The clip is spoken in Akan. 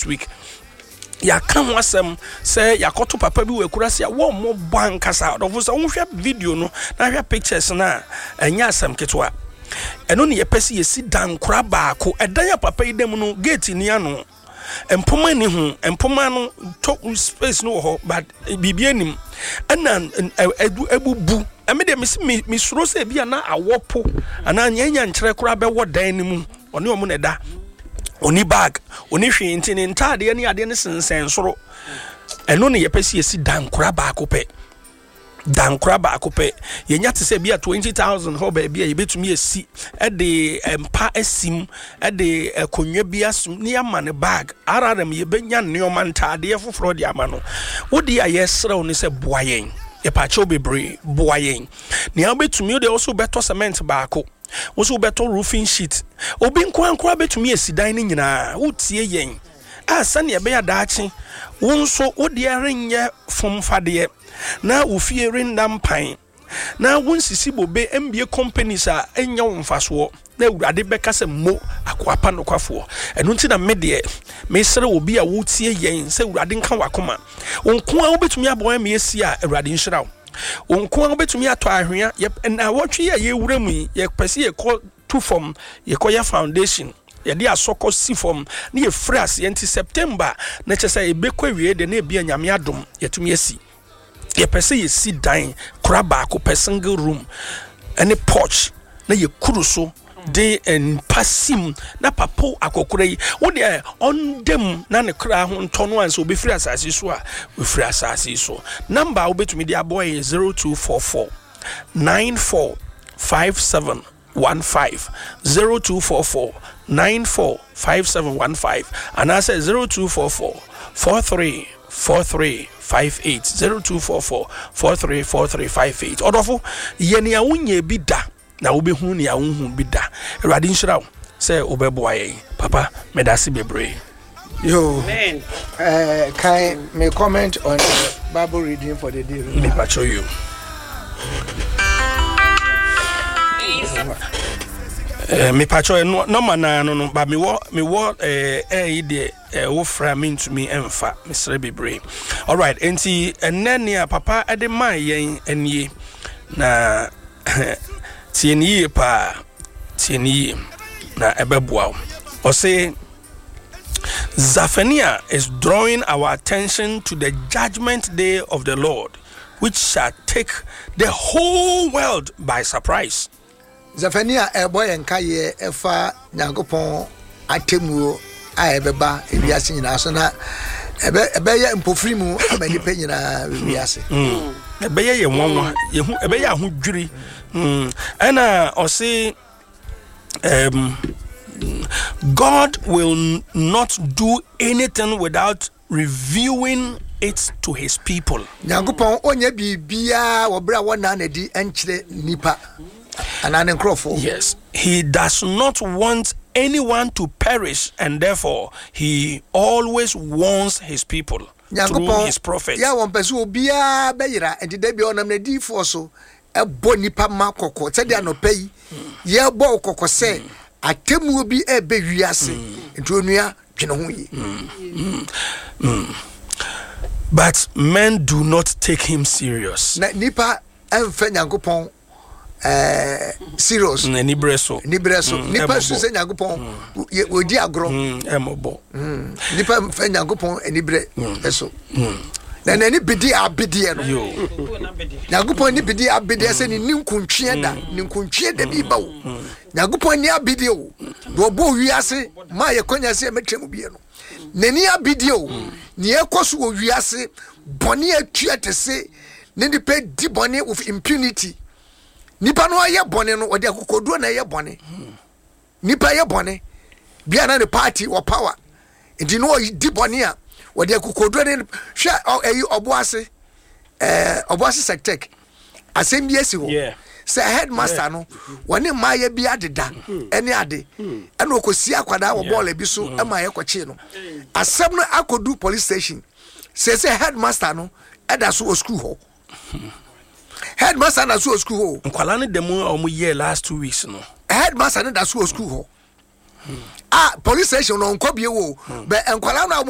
this week. Yɛaka ho asɛm sɛ yɛakɔto papa bi wɔ akurase a wɔmmɔ bɔ ankasa. Ɔdɔfo, sɛ wohwɛ video no na hwɛ pictures no a, ɛnyɛ asɛm ketewa. Ɛno ne yɛpɛ sɛ yɛsi dankora baako. Ɛdan a papa yi da mu no, gate ni ano, mpoma ni ho, mpoma no to space no wɔ hɔ, but biribi anim ɛna ɛbubu. Ɛmi deɛ mesi mesuro sɛ ebi a na awɔ po anaa nyɛ nkyerɛ koraa bɛwɔ dan no mu. Ɔne ɔmo na ɛda, ɔni bag, ɔni hwee, nti ne ntaadeɛ ne adeɛ ne sensɛn soro. Ɛno ne yɛpɛ sɛ yɛsi dankora baako pɛ, dankora baako pɛ. Yɛnya te sɛ bi a 20,000 hɔ baabi a yɛbɛtumi asi, ɛde mpa asim, ɛde akonnwa bi asim ne yɛama ne bag rrm, yɛbɛnya nneɛma, ntaadeɛ foforɔ de ama no. Wode a yɛsrɛ wo ne sɛ boa yɛn, yɛpaakyɛw bebree, boa yɛn nea wobɛtumi. Wode wo so wobɛtɔ cement baako, wo so wobɛtɔ roofing sheet, obi nkoankora bɛtumi asi dan no nyinaa. Wotie yɛn a, sɛnea ɛbɛyɛ daakye wo nso wodeɛ renyɛ fomfadeɛ na wo fie renda mpan na wonsisi bobe mbie companies a ɛnyɛ wo mfasoɔ na Awurade bɛka sɛ mo akoa pa nokwafoɔ. Ɛno nti na me deɛ mesrɛ obi a wotie yɛn sɛ Awurade nka wakoma. Wo nko a wobɛtumi aboa ma yɛsi a, Awurade nhyira wo. Wo nko a wobɛtumi atɔ ahwea. Na wɔtwe a yɛwura mu yi, yɛpɛ sɛ yɛkɔ tu fam, yɛkɔyɛ foundation, yɛde asɔkɔ si fam ne yɛfiri aseɛ. Nti September na kyerɛ sɛ yɛbɛkɔ awie deɛ na ebia Nyame adom yɛtumi asi. Yɛpɛ sɛ yɛsi dan kora baako pɛ, single room ɛne porch, na yɛkuru so de mpa sim na papo akɔkora yi wo deɛ ɔndam na ne kra ho ntɔ no ansa obɛfiri asase so a wɔfiri asase so. Number a wobɛtumi de aboa yɛ 0244 94 57 15, 0244 94 5715, anaasɛ 0244 43 43 58, 0244 43 43 58. Ɔdɔfo, yɛ nea wonyɛ bi da na wobɛhu nea wohu bi da. Awurade nhyira wo sɛ wobɛboa yɛn. Papa, meda ase bebree. Yo, can may comment on the Bible reading for the day? Mepakyɛw you. Mepakyɛw, ɛno nɔma naa no ba mewɔ ɛyi deɛ wofrɛ a mentumi ɛmfa, mesrɛ bebree. Alright, enti ɛnnɛ nea papa ɛde maa yɛn nie, na tie ne yie paa, tie ne yie na ɛbɛboa wo. Ɔse Zephaniah is drawing our attention to the judgment day of the Lord, which shall take the whole world by surprise. Zephaniah ɛbɔ yɛn nkaeɛ ɛfa Nyankopɔn atemmuo a ɛbɛba ewiase nyinaa so, na ɛbɛyɛ mpofiri mu ama nnipa nyinaa wiase. Ɛbɛyɛ yɛ nwanwa, yɛhu ɛbɛyɛ ahodwiri. Ɛna ɔse God will not do anything without reviewing it to his people. Nyankopɔn ɔnyɛ biribiaa wɔ berɛ a wɔnaa n'adi nkyerɛ nnipa anaa ne nkurɔfoɔ. Yes, he does not want anyone to perish, and therefore he always warns his people through his prophets. Yɛ a wɔmpɛ sɛ obiara bɛyera, nti da bia ɔnam n'adiyifoɔ so ɛbɔ nipa ma kɔkɔ, sɛdeɛ anɔpa yi yɛbɔ wo kɔkɔ sɛ atemmuo bi ɛbɛ wiase, nti onua, dwene ho yie. But men do not take him serious. Na nipa ɛmfɛ Nyankopɔn serious. Aniberɛ so. Niberɛ so. Nipa su sɛ Nyankopɔn wɔdi agorɔ. Ɛmɔbɔ. Nipa mfɛ Nyankopɔn aniberɛ ɛso na n'ani bedi abedeɛ no. Nyankopɔn ani bedi abedeɛ sɛ ne ninkuntweɛ da, ninkuntweɛ da bi ba o. Nyankopɔn ani abedeɛ o, na ɔbɔ wiase maa yɛ kɔnya sɛ yɛmɛtwa mu bie no, n'ani abedeɛ o. Nea ɛkɔ so wɔ wiase, bɔne atua te se ne nipa di bɔne with impunity. Nipa no ayɛ bɔne no, ɔde akokoduro na ɛyɛ bɔne. Nipa yɛ bɔne bia na ne party wɔ power, nti na ɔdi bɔne a wɔde akokoduro ne hwɛ. Ɛyi Ɔboase, Ɔboase Sectec asɛm bi asi hɔ sɛ headmaster no wɔne mmaayɛ bi adeda ɛne ade, ɛna ɔkɔsi akwadaa wɔ bɔɔla bi so ɛma yɛkɔkyee no. Asɛm no akɔdu police station sɛ headmaster no ɛda so wɔ school hɔ. Headmaster na so wɔ school hɔ. Nkwalaa no da mu a wɔn yɛ last 2 weeks no. Headmaster no da so wɔ school hɔ a police station no ɔnkɔ bie wo bɛ nkwalaa no a.